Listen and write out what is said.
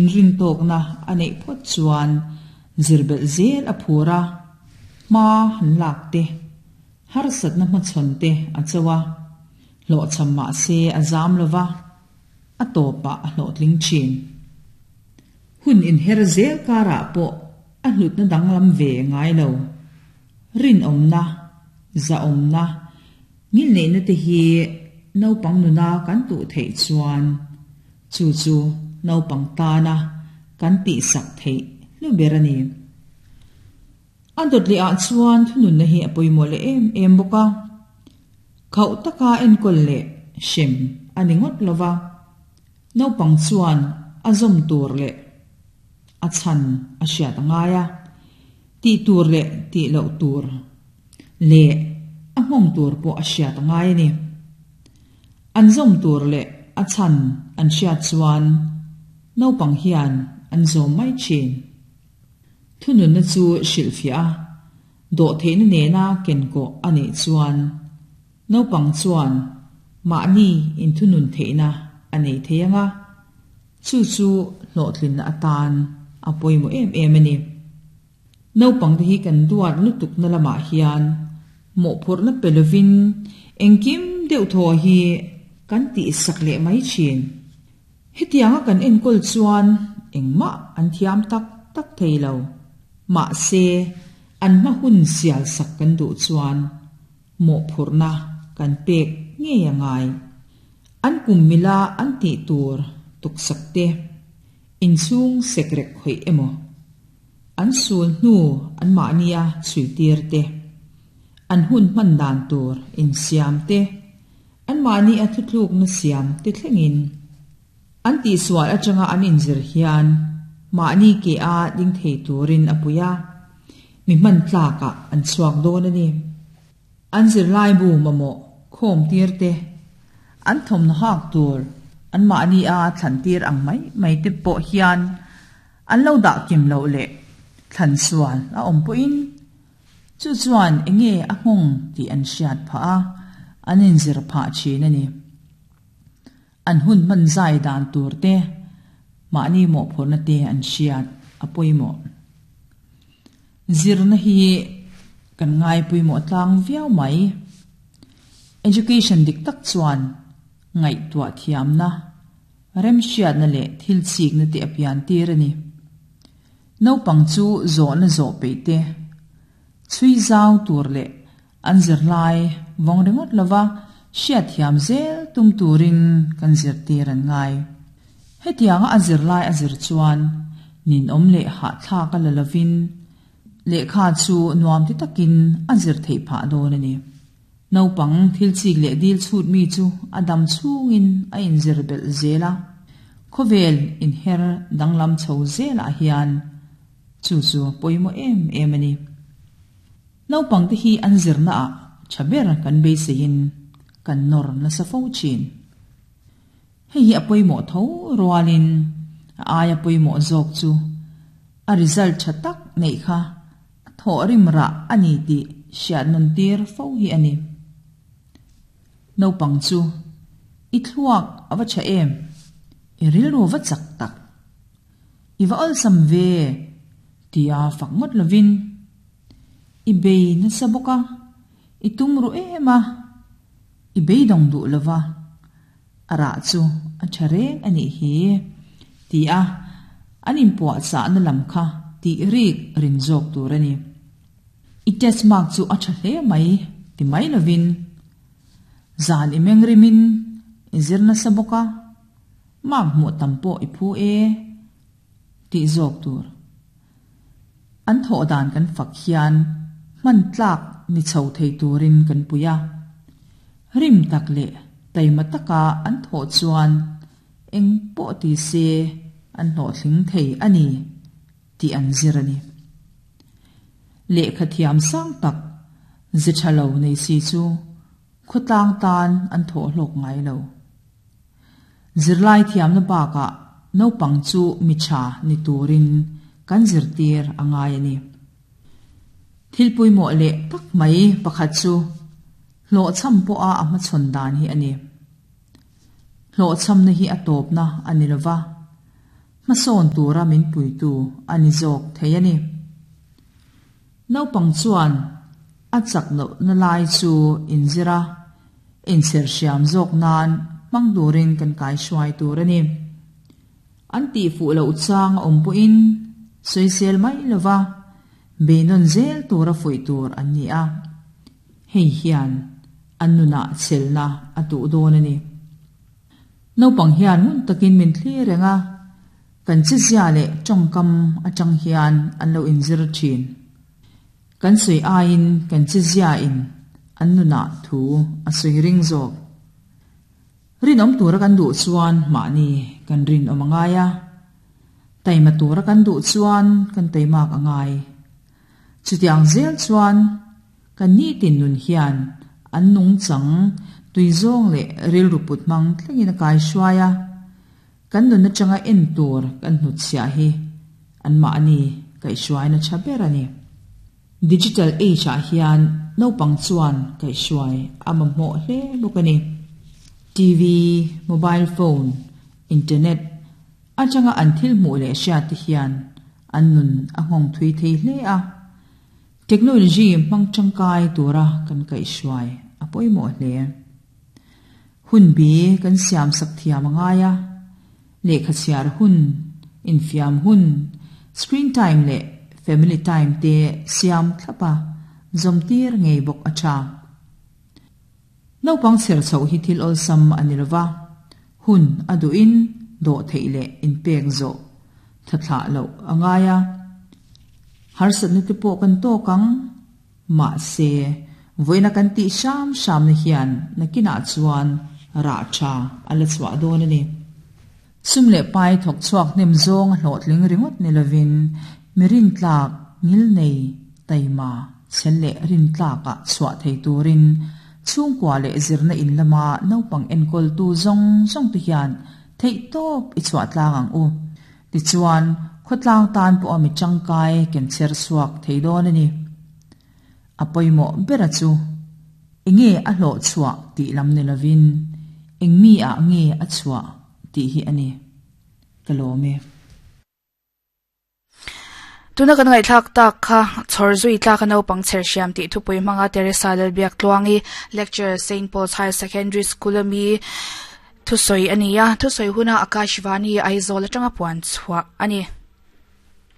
Inrintawkna a neih phawt chuan zir belh zel a phur a, hma han lak te, harsatna hmachhawn te a cho a, hlawhchham mah se a zam lo va, a tawpah a hlawhtling thin. Hun inher zel karah pawh a hlutna danglam ve ngai lo. Rinawmna, zahawmna, ngilneihna te hi naupang nuna kan tuh theih chuan chu chu naupang tana kan tihsak theih hlu ber a ni. A dawt leh ah chuan thununna hi a pawimawh leh em em bawk a. Khauh taka enkawl leh hrem a ni ngawt lo va, naupang chuan a zawm tur leh a chhan a hriat a ngai a, tih tur leh tih loh tur leh a nghawng tur pawh a hriat a ngai a ni. An zawm tur leh a chhan an hriat chuan naupang hian an zawm mai thin. Thununna chu hrilhfiah a, dawhtheihna nena kenkawh a nih chuan naupang chuan mahni inthunun theihna a nei thei ang a, chu chu hlawhtlinna atan a pawimawh em em a ni. Naupangte hi kan duat lutukna lamah hian mawhphurhna pe lovin engkim deuh thaw hi kan tihsak leh mai thin. Hetianga kan enkawl chuan engmah an thiam tak tak thei lo. Mahse, an hma hun sial sak kan duh chuan mawhphurhna kan pek ngei a ngai. An kum mila an tih tur tuksak te, inchhung sekrek khawih emaw, an sul hnu anmahnia chhuitir te, an hun hman dan tur insiam te, Anmahni a thutlukna siam te thlengin an tihsual atanga an inzir hian mahni ke a ding thei turin a pui a, mi hman tlakah an chhuak dawn a ni. An zirlaibu mamawh khawm tir te, an thawmhnaw hak tur anmahni a thlan tir ang mai mai te pawh hian an lo dah kim loh leh thlan sual a awm pawhin Chu chuan enge a nghawng tih an hriat phah a, an inzir phah thin a ni. An hun hman zai dan tur te, mahni mawhphurhna te an hriat a pawimawh. Zirna hi kan ngai pawimawh tlang viau mai. Education dik tak chuan ngaihtuah thiamna, remhriatna leh thil chikna te a pian tir a ni. Naupang chu zawhna zawh peih te, chhui zau tur leh an zirlai vawng ringawt lova hriatthiam zel tum turin kan zirtir an ngai. Hetianga a zirlai a zir chuan ninawm leh hahthlak a la lovin lehkha chu nuam ti takin a zir theih phah dawn a ni. Naupang thil chik leh dil chhut mi chu a dam chhungin a inzir belh zel a, khawvel inher danglam chho zelah hian chu chu pawimawh em em a ni. Naupangte hi an zirnaah tha ber kan beiseiin kan nawr nasa fo thin. Hei hi a pawimawh tho rualin a aia pawimawh zawk chu a result tha tak neih kha A thawh rim rah a ni tih hriat nawn tir fo hi a ni. Naupang chu, I thluak a va tha em? I rilru va chak tak. I va awlsam ve tia fak ngawt lovin, I bei nasa bawk a, i tum ruh em a, i beidawng duh lova, a rah chu a tha reng a nih hi, ti a an inpuahchahna lam kha tih rik rin zawk tur a ni. I test mark chu a tha hle mai ti mai lovin, zan i meng rimin i zir nasa bawk a, mark hmuh tam pawh i phu e tih zawk tur. An thawh dan kan fak hian hman tlak ni chho thei turin kan pui a. Rim tak leh taima taka an thawh chuan eng pawh ti se an hlawhtling thei a ni tih an zir a ni. Lehkha thiam sang tak ze tha lo nei si chu khawtlang tan an thawh hlawk ngai lo. Zirlai thiamna bakah naupang chu mi tha ni turin kan zirtir a ngai a ni. Thil pawimawh leh tak mai pakhat chu hlawhchham pawha a hmachhawn dan hi a ni. Hlawhchhamna hi a tawpna a ni lova. Hmasawn tura min puitu a ni zawk thei a ni. Naupang chuan a chak lohna lai chu inzir a, inchher hriam zawk nan hmang turin kan kaihruai tur a ni. An tihfuh loh chang a awm pawhin sawisel mai lova beinawn zel tura fuih tur an ni a, hei hian an nunah chelna a tuh dawn a ni. Naupang hian ngun takin min thlir reng a, kan chezia leh tawngkam atang hian an lo inzir thin. Kan sawi aiin kan chezia in an nunah thu a sawi ring zawk. Rinawm tura kan duh chuan mahni kan rinawm a ngai a, taima tura kan duh chuan kan taimak a ngai. Chutiang zel chuan Kan nitin nun hian an nungchang tui zawng leh rilru put hmang thlengin a kaihruai a, kan nun atanga en tur kan hnutchhiah hi anmahni kaihhruaina tha ber a ni. Digital age ah hian naupang chuan kaihhruai a mamawh hle bawk a ni. TV, mobile phone, internet atanga an thil hmuh leh hriat te hian an nun a nghawng thui thei hle a. Technology hmang tangkai tura kan kaihhruai a pawimawh hle. Hunbi kan siamsak thiam a ngai a, lehkha chhiar hun, infiam hun, screen time leh family time te siam thlap a, zawmtir ngei bawk a tha. Naupang chher chhoh hi thil awlsam a ni lova, hun a duhin dawh theih leh inpek zawh thathlah loh a ngai a. Harsatna te pawh kan tawk ang. Mahse, vawiina kan tih hram hramna hian nakinah chuan rah tha a la chhuah dawn a ni. Sum leh pai thawk chhuak hnem zawng a hlawhtling ringawt ni lovin mi rintlak ngilnei taima chhel leh rintlakah chhuah thei turin chhungkua leh zirna in lama naupang enkawltu zawng zawng te hian theihtawp i chhuah tlang ang u. Tichuan, khawtlang tan pawha mi tangkai ken chher chhuak thei dawn a ni. A pawimawh bera chu enge a hlawh chhuah tih lam ni lovin eng mi ah nge a chhuah tih hi a ni. Ka lawm e. Tuna kan ngaihthlak tak kha chhawr zui tlak a naupang chher hriam tih thupui hmanga Teresa Lalbiaktluangi lecture Saint Paul's Higher Secondary School ami thusawi a ni a, thusawi huna Akashvani Aizawl atanga puan chhuah a ni.